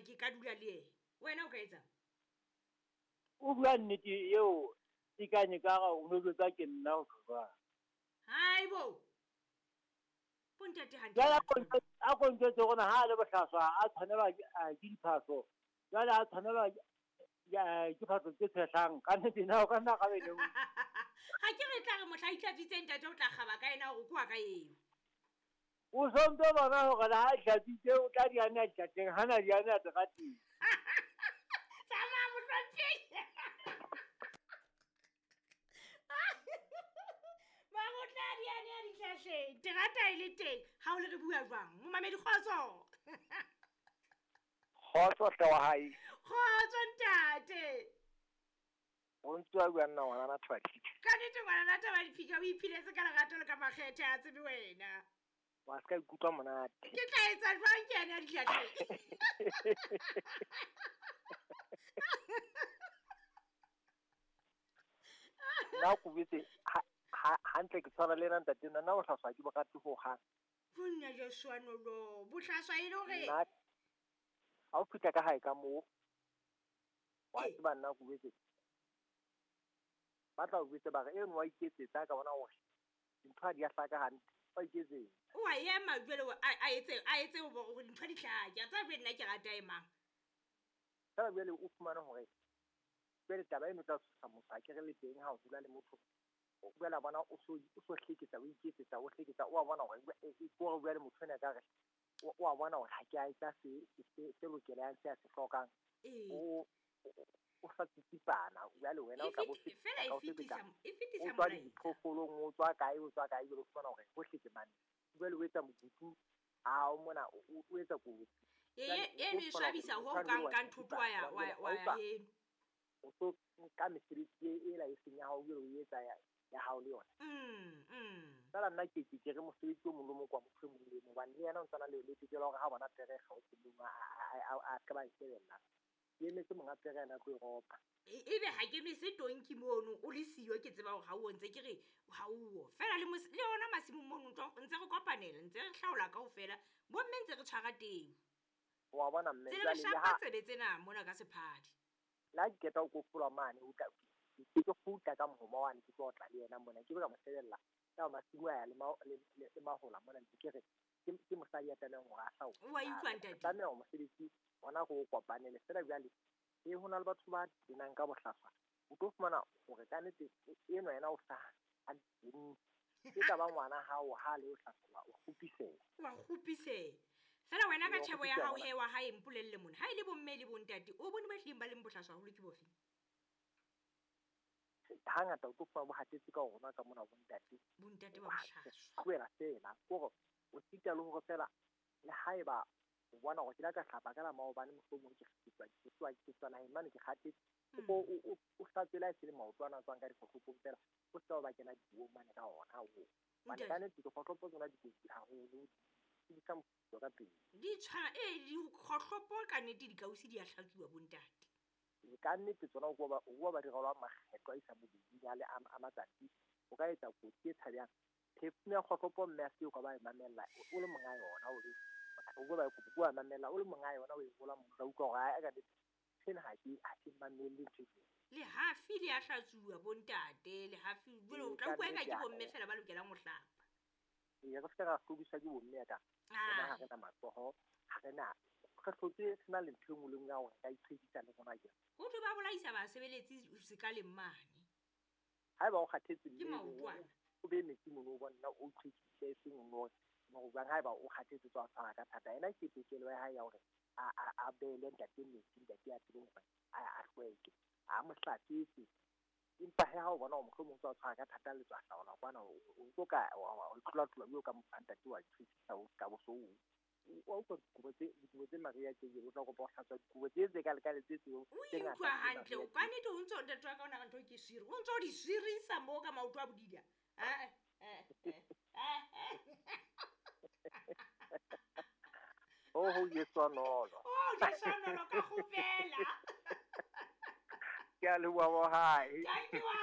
ke ka dula le ena. Wena o ka etsang? O bua nnete eo e kanye ka ga o no jwetsa ke nna o jwang. Haibo. Bontate hantle. Jwale a ko ntjwetse gore ha a le bohlaswa a tshwanelwa ke diphahlo. Jwale a tshwanelwa ke phahlo tse tshehlang ka nnete na o ka nna gabe ne. Ga ke re tla re mohla itlhatswitse ntate o tla kgaba ka ena hore ke wa ka eo. O sontso bona hore le ha a itlhatswitse o tla di ane a dihlahleng ha na di ane a terateng. Tsamaya mohlomphehi. Mara o tla di ane a dihlahleng. Terata e le teng. Ha o le re bua jwang? Momamedi kgotso. Kgotso hle wa hae. Kgotso ntate. O ntse wa bua nna ngwanana Thaba Diphika. Ka nnete ngwanana Thaba Diphika o iphiletse ka lerato le ka makgethe a tsebe wena. Wa se ka ikutlwa monate. Ke tla etsa jwang ke ane a dihlahleng? Nna ko betse hantle ke tshwana le ena ntate nna nna bohlaswa ke bo rate ho hang. Monna Joshua Nolo, bohlaswa e le hore Nna ha o fihla ka hae ka moo, wa tseba nna ko betse. Ba tla o betse ba re eno wa iketsetsa ka bona hore dintho ha di a hlaka hantle. Wa iketsetsa. O a ema jwale a etse hore dintho di hlake. A tseba jwale nna ke rata e mang. Fela jwale o fumane hore jwale taba eno tla tshosa motho ha ke re le teng ha o dula le motho. O boela bona o so hleketsa, o iketsetsa, o hleketsa, o a bona hore e ke hore bua le motho ena ka re, o a bona hore ha ke a etsa se lokelang, se a se hlokang. O sa tsitsipana, jwale wena o tla bo Fela o sebetsa. e fetisa O tswa molaetsa. diphoofolong, o tswa kae, o tswa kae, jwale o fumana hore hohle ke mane. Jwale o etsa mokutu, a o mona, o etsa kotsi. Jwale o Eno e tlo fumana swabisa hore ho motho kang wa ka ntho tsitsipana, wa jwale ya ha o tswa heno. O tlo nka mesebetsi ela e seng ya hao, jwale o etsa ya hao le yona. Fela nna ke re mosebetsi o mong le mong kwa motho e mong le mong, hobane le yena o ntsana le tokelo ya hore ha bona pere e kgaotse mong, a ka ba e shebella. Ke emetse monga pere ena a tlo e ropa. Ebe ha ke nwese tonki mono, o le siyo ke tseba hore ha o ntse ke re ha o. Fela le ona masimong mono ntse re kopanela, ntse re hlaola kaofela. Bomme ntse re tshwara teu. Wa bona mme, Tsele re jwale le shapa ha tsebe tsena mona ka sephadi. Le ha ke qeta ho kofola mane, o tla ke tlo kgutla ka mohoma wane, ke tlo otla le yena mona, ke be ka mo shebella. Ka masimo a ya le mahola mona, ntse ke re, ke mosadi ya tlamehang hore a hlaole. O a utlwa, ntate? Tlameha hore mosebetsi ona re o kopanele. Feela jwale, ho na le batho ba tenang ka bohlaswa. O tlo fumana hore ka nnete enwa yena o sa a teng. Ke tla ba ngwana hao ha le o hlaswa, o kgopiseha. Wa kgopiseha. Feela wena ka Wa tjhebo ya kgopiseha hao ngwana. he wa hae mpolelle mona. Ha e le bomme le bontate, o bone ba hlileng ba leng bohlaswa haholo ke bofe? Hangata o tlo fumana bo hatetse ka rona ka mona bontate. Bontate ba bohlaswa. Tlohela feela. Ke hore o sita le hore feela le haeba o bona hore ke la ka hlapa ka la maobane mohlomong ke ke tswa naheng mane ke kgathetse. O hlatswe le ha e se le maoto ana a tswang ka dikgohlopong feela, o se ka ba kena dipuong mane ka ona oo. Hobane Ntate. ka nnete dikgohlopo tsona di kotsi haholo, di tlisa mofuthu ka pele. Di tshwana, dikgohlopo ka nnete di kausi di a hlatsuwa bontate. Ka nnete tsona o kwa ba di rwalwa makgetho a isa bobeding a le a matsatsi, o ka etsa kotsi e tshabehang. Perfume ya kgohlopo mme a se o ka ba e mamella, o le monga yona, o be, o ba o ba mamella, o le monga yona, o e rola monna, o utlwa hore ha, ka nnete, sena ha ke mamelle ntho e jwalo. Lehafi le a hlatsuwa bontate, lehafi, jwale o tla Ka utlwa eka nnete ke ya bomme ka. feela ba lokelang ho hlapa. Ee, re se ra hlodiswa ke bomme ya ka. Rona ha re na matsoho, ha re na, re hlotse re na le ntho e nngwe le nngwe ya hore re ka itshedisa le rona jwang. Ho thwe ba bolaisa basebeletsi sekaleng mane. Haeba o kgathetse Ke mme maotwana. o be metsi mono o bona o itlhwekise e seng o no jwang haeba o kgathetse tswa tshwara ka thata. Ena ke tokelo ya hae ya hore a beele ntate metsi, ntate a tsebe hore a hlweke, a mo hlatswetse. Empa he ha o bona hore mohlomong o tswa tshwara ka thata le tswa hlaola kwana, o tlo ka, wa tlola-tlola o ka mo ntate wa itlhwekisa, o ka bo so o. Wa utlwa dikobo tse Maria tse jwalo, o tla kopa ho hlatswa dikobo tse tse ka lekane tse tseo, O tse ngata utlwa tse hantle, Maria ka nnete o ntso ntate wa ka o na re ntho ke swiri, o ntso di swirisa moo ka maoto a bodila. Oh, ho Jesu nolo. Oh, Jesu nolo ka kgopela. Ke a leboha bo hae. Thank you, wa